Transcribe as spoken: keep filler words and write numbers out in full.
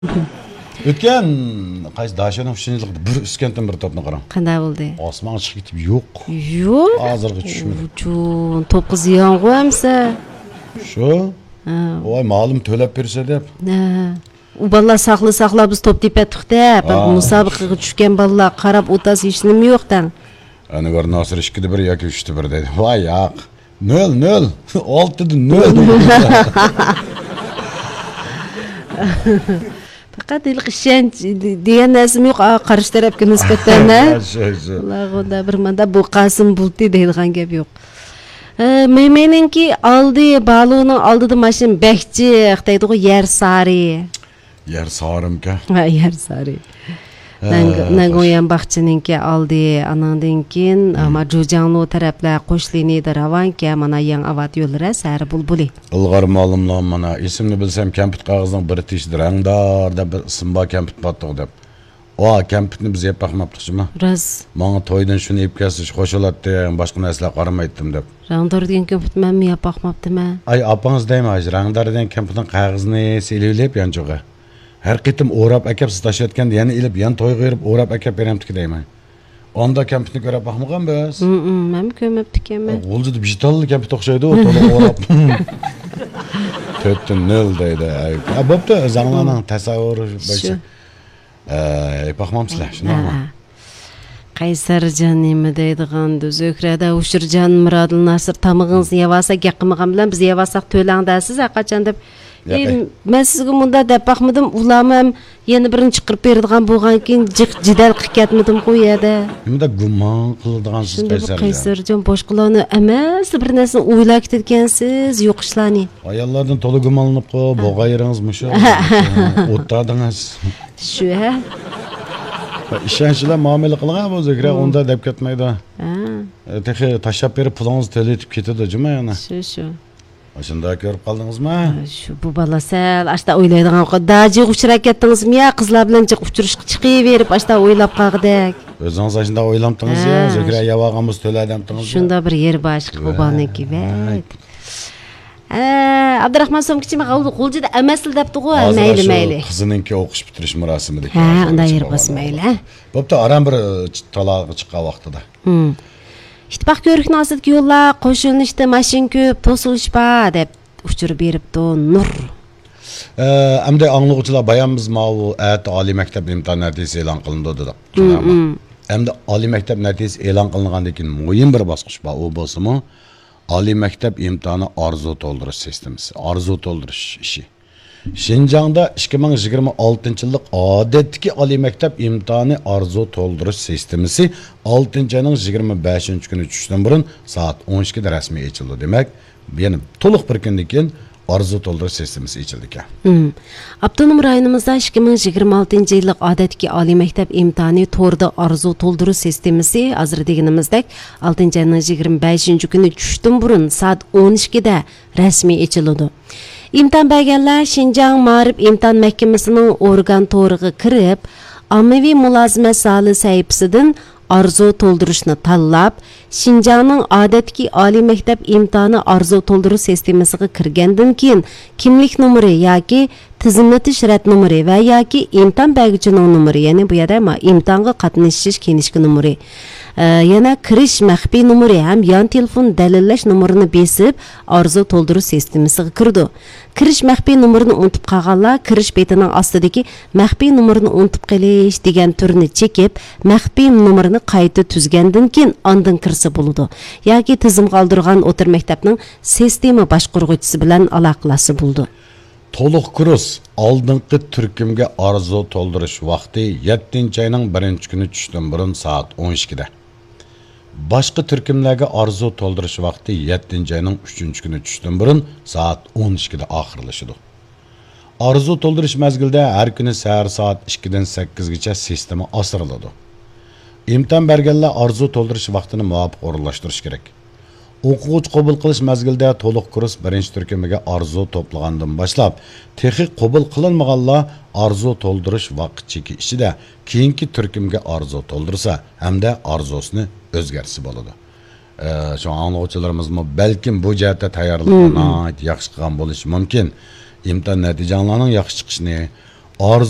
ئۆتكەن قايسى داشۆنىڭ ئۈچىنچى يىللىقىدا بىر ئۈسكەنتىن بىر توپنى قاراڭ. قانداق بولدى؟ ئاسمانغا چىقىپ كېتىپ يوق. يوق. ھازىرغا چۈشمىدى. جون، توپقا زىيانغۇ ئەمسە. شۇ. ھە. ۋاي، مالىم تۆلەپ بېرسە دەپ. ھە. ئۇ بالىلار ساقلا، ساقلا، بىز توپ تېپەتتۇق دەپ، ھە، مۇسابىقىگە چۈشكەن بالىلار قاراپ ئولتۇرسا ھېچنېمە يوق دەڭ. ئەنۋەر ناسىر ئىككىدە بىر ياكى ئۈچتە بىر دەيدۇ. ۋاي ياق. نۆل، نۆل. ئالتىدىن نۆل. پەقەت ھېلىقى ئىشەنچ دېگەن نەرسىمۇ يوق، ئا، قارشى تەرەپكە نىسبەتەن، ھە؟ شۇ، شۇ. ئۇلارغا ئۇنداق بىر ماندا بۇ قاسىم بۇلتى دەيدىغان گەپ يوق. ئە، مېمېنىڭكى ئالدى، بالۇنىڭ ئالدىدا ماشىنا بەك جىق دەيدىغۇ، يەر سارى. يەر سارىمكەن؟ ھە، يەر سارى. ھە، نەنگ-، نەنگويەن باغچىنىڭكى ئالدى، ئانىڭدىن كېيىن، ھە، ما جۇجياڭلۇ تەرەپلەر قوش لىنىيەدە راۋانكەن، مانا يېڭى ئاۋات يوللىرى سەھەر بۇلبۇلى. ئىلغار مالىملار، مانا ئېسىمنى بىلسەم، كەمپۈت قەغىزىنىڭ بىر تېشىدا رەڭدار دەپ بىر ئىسىم بار، كەمپۈت باتتۇق دەپ. ۋا، كەمپۈتنى بىز يەپ باقماپتۇق جۇما. راست. ماڭا تويدىن شۇنى ئېلىپ كەلسە، شۇ خوش بولاتتىم، باشقا نەرسىلەر قارىمايتتىم دەپ. رەڭدار دېگەن كەمپۈت مەنمۇ يەپ باقماپتىمەن. ئاي، ئاپىڭىز دەيمەن، ھاجى، رەڭدار دېگەن كەمپۈتنىڭ قەغىزىنى سېلىۋېلىپ يانچۇغا. ھەر قېتىم ئوراپ ئەكەپ، سىز تاشلىۋەتكەندە يەنە ئېلىپ، يەنە تويغا بېرىپ ئوراپ ئەكەپ بېرەمتىكى دەيمەن. ئاندا كەمپۈتنى كۆرۈپ باقمىغان بىز. ھىم، ھىم، مەنمۇ كۆرمەپتىكەنمەن. غۇلجىدا بىژتاللا كەمپۈت ئوخشايدۇ، تولا ئوراپ. تۆتتىن نۆل دەيدۇ. ئەي، ھە، بوپتۇ، ئۆزۈڭلارنىڭ تەسەۋۋۇر بويىچە. شۇ. ئەي، باقمامسىلەر، شۇنداقمۇ؟ ھە، ھە. قەيسەرجان نېمە دەيدىغاندۇ؟ زۆھرەدە، ھۇشۇرجان، مۇرادىل، ناسىر، تامىقىڭىزنى يەۋالسا، گەپ قىلمىغان بىلەن بىز يەۋالساق تۆلەڭ دەرسىز ھەرقاچان دەپ. ياق، ئەي، ئەي. مەن سىزگە مۇنداق دەپ باقمىدىم، ئۇلارمۇ ھەم يەنە بىرىنى چىقىرىپ بېرىدىغان بولغانكىن، جىق جېدەل قىلىپ كەتمىدىمغۇ ئۇ يەردە. نېمىدە گۇمان قىلىدىغانسىز، شۇنداق قەيسەرجان؟ قەيسەرجان، باشقىلارنى ئەمەس، بىر نەرسىنى ئويلاپ كېتىدىكەنسىز، يوق ئىشلارنى. ئاياللاردىن تولا گۇمانلىنىپ قويۇپ، بولغان يېرىڭىز مۇشۇ. ئوتتادىڭىز. شۇ، ھە؟ ئىشەنچ بىلەن مۇئامىلە قىلغان بۇ زۆھرە، ئۇنداق دەپ كەتمەيدۇ. ھە. تېخى تاشلاپ بېرىپ پۇلىڭىزنى تۆلىتىپ كېتىدۇ جۇما يەنە. شۇ، شۇ. ئاشۇنداق كۆرۈپ قالدىڭىزمۇ؟ شۇ، بۇ بالا سەل ئاشتا ئويلايدىغان، داجىغا ئۇچراپ كەتتىڭىزمۇ يا؟ قىزلار بىلەن جىق ئۇچرىشىشقا چىقىۋېرىپ ئاشتا ئويلاپ قالغۇدەك. ئۆزىڭىز ئاشۇنداق ئويلامتىڭىز يا؟ ھە. زۆھرە يەۋالغان بولسا تۆلە دەمتىڭىز يا؟ شۇنداق بىر يېرى بار ئىشقىلىپ ئۇ بالىنىڭكى، ۋەي. ھە، ئابدۇراخمان سومكىچى، مانا غۇلجىدا ئەمەسلا دەپتىغۇ. ھە، مەيلى، مەيلى. قىزىنىڭكى ئوقۇش پۈتتۈرۈش مۇراسىمىدىكى. ھە، ئۇنداق يېرى بولسا مەيلى، ھە. بوپتۇ، ئاران بىر، ئە، تالاغا چىققان ۋاقتىدا. ھىم. ئىتتىپاق كۆۋرۈكىنىڭ ئاستىدىكى يوللار، قوش يۆنىلىشتە ماشىنا كۆپ، توسۇلۇش بار، دەپ ئۇچۇر بېرىپتۇ نۇر. ئە، ئەمدى ئاڭلىغۇچىلار، بايان بىز ماۋۇ ئەتە ئالىي مەكتەپ ئىمتىھان نەتىجىسى ئېلان قىلىنىدۇ دېدۇق. ھىم، ھىم. ئەمدى ئالىي مەكتەپ نەتىجىسى ئېلان قىلىنغاندىن كېيىن مۇھىم بىر باسقۇچ بار، ئۇ بولسىمۇ ئالىي مەكتەپ ئىمتىھانى ئارزۇ تولدۇرۇش سىستېمىسى، ئارزۇ تولدۇرۇش ئىشى. شىنجاڭدا ئىككى مىڭ يىگىرمە ئالتىنچى يىللىق ئادەتتىكى ئالىي مەكتەپ ئىمتىھانى ئارزۇ تولدۇرۇش سىستېمىسى ئالتىنچى ئاينىڭ يىگىرمە بەشىنچى كۈنى چۈشتىن بۇرۇن سائەت ئون ئىككىدە رەسمىي ئېچىلىدۇ. دېمەك، يەنە تولۇق بىر كۈندىن كېيىن ئارزۇ تولدۇرۇش سىستېمىسى ئېچىلىدىكەن. ھىم. ئاپتونوم رايونىمىزدا ئىككى مىڭ يىگىرمە ئالتىنچى يىللىق ئادەتتىكى ئالىي مەكتەپ ئىمتىھانى توردا ئارزۇ تولدۇرۇش سىستېمىسى، ھازىر دېگىنىمىزدەك، ئالتىنچى ئاينىڭ يىگىرمە بەشىنچى كۈنى چۈشتىن بۇرۇن سائەت ئون ئىككىدە رەسمىي ئېچىلىدۇ. ئىمتىھان بەرگەنلەر شىنجاڭ مائارىپ ئىمتىھان مەھكىمىسىنىڭ ئورگان تورىغا كىرىپ، ئاممىۋى مۇلازىمەت زالى سەھىپىسىدىن ئارزۇ تولدۇرۇشنى تاللاپ، شىنجاڭنىڭ ئادەتتىكى ئالىي مەكتەپ ئىمتىھانى ئارزۇ تولدۇرۇش سىستېمىسىغا كىرگەندىن كېيىن، كىملىك نومۇرى ياكى تىزىملىتىش رەت نومۇرى ۋە ياكى ئىمتىھان بەرگۈچىنىڭ نومۇرى، يەنى بۇ يەردە ما-، ئىمتىھانغا قاتنىشىش كىنىشكا نومۇرى، ئە، يەنە كىرىش مەخپىي نومۇرى ھەم يان تېلېفون دەلىللەش نومۇرىنى بېسىپ، ئارزۇ تولدۇرۇش سىستېمىسىغا كىرىدۇ. كىرىش مەخپىي نومۇرىنى ئۇنتۇپ قالغانلار كىرىش بېتىنىڭ ئاستىدىكى مەخپىي نومۇرنى ئۇنتۇپ قېلىش دېگەن تۈرنى چېكىپ، مەخپىي نومۇرنى قايتا تۈزگەندىن كېيىن ئاندىن كىرسە بولىدۇ. ياكى تىزىمغا ئالدۇرغان ئوتتۇرا مەكتەپنىڭ سىستېما باشقۇرغۇچىسى بىلەن ئالاقىلەشسە بولىدۇ. تولۇق كۇرس ئالدىنقى تۈركۈمگە ئارزۇ تولدۇرۇش ۋاقتى يەتتىنچى ئاينىڭ بىرىنچى كۈنى چۈشتىن بۇرۇن سائەت ئون ئىككىدە. باشقا تۈركۈملەرگە ئارزۇ تولدۇرۇش ۋاقتى يەتتىنچى ئاينىڭ ئۈچىنچى كۈنى چۈشتىن بۇرۇن سائەت ئون ئىككىدە ئاخىرلىشىدۇ. ئارزۇ تولدۇرۇش مەزگىلىدە ھەر كۈنى سەھەر سائەت ئىككىدىن سەككىزگىچە سىستېما ئاسرىلىدۇ. ئىمتىھان بەرگەنلەر ئارزۇ تولدۇرۇش ۋاقتىنى مۇۋاپىق ئورۇنلاشتۇرۇشى كېرەك. ئوقۇغۇچى قوبۇل قىلىش مەزگىلىدە تولۇق كۇرس بىرىنچى تۈركۈمىگە ئارزۇ توپلىغاندىن باشلاپ، تېخى قوبۇل قىلىنمىغانلار ئارزۇ تولدۇرۇش ۋاقىت چېكى ئىچىدە كېيىنكى تۈركۈمگە ئارزۇ تولدۇرسا ھەمدە ئارزۇسىنى ئۆزگەرتسە بولىدۇ. ئە، شۇڭا ئاڭلىغۇچىلىرىمىزمۇ بەلكىم بۇ جەھەتتە تەييارلىقنى ناھايىتى ياخشى قىلغان بولۇشى مۇمكىن. ئىمتىھان نەتىجەڭلارنىڭ ياخشى چىقىشىنى، ئارزۇ